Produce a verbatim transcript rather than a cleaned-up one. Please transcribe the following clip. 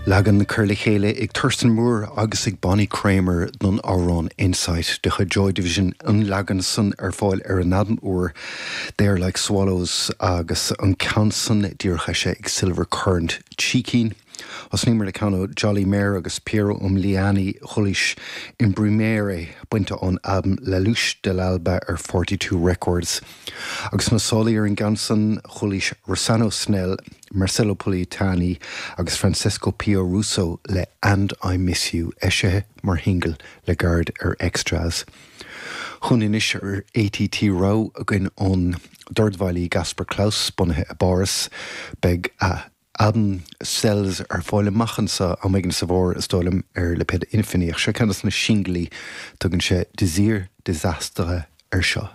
Leagan curtha le chéile ag Thurston Moore agus ag Bonnie Kramer don amhrán Insight de chuid Joy Division an leagan san ar fáil ar an albam úr They Are Like Swallows agus an ceann san díreach eisithe ag Silver Current Cheekeen. Thosnaíomar le ceann ó Jolly Mayer agus Piero Umiliani chualaís Imprimere bainte ón albam La Luce dell'Alba ar forty two Records. Agus na sálaí ar an gceann san chualaís Rossano Snell, Marcello Politani agus Francesco Pio Russo le And I Miss You eisithe mar shingil le gairid ar Extras. Chun anois ar ATT rogha againn ón dordveidhilí Gaspar Claus bunaithe i bPáras beidh a albam Cells ar fáil amach anseo am éigin sa bhfómhar is dóigh liom ar lipéad Infini ach seo ceann de na singilí tugann sé Désir Désastre ar seo.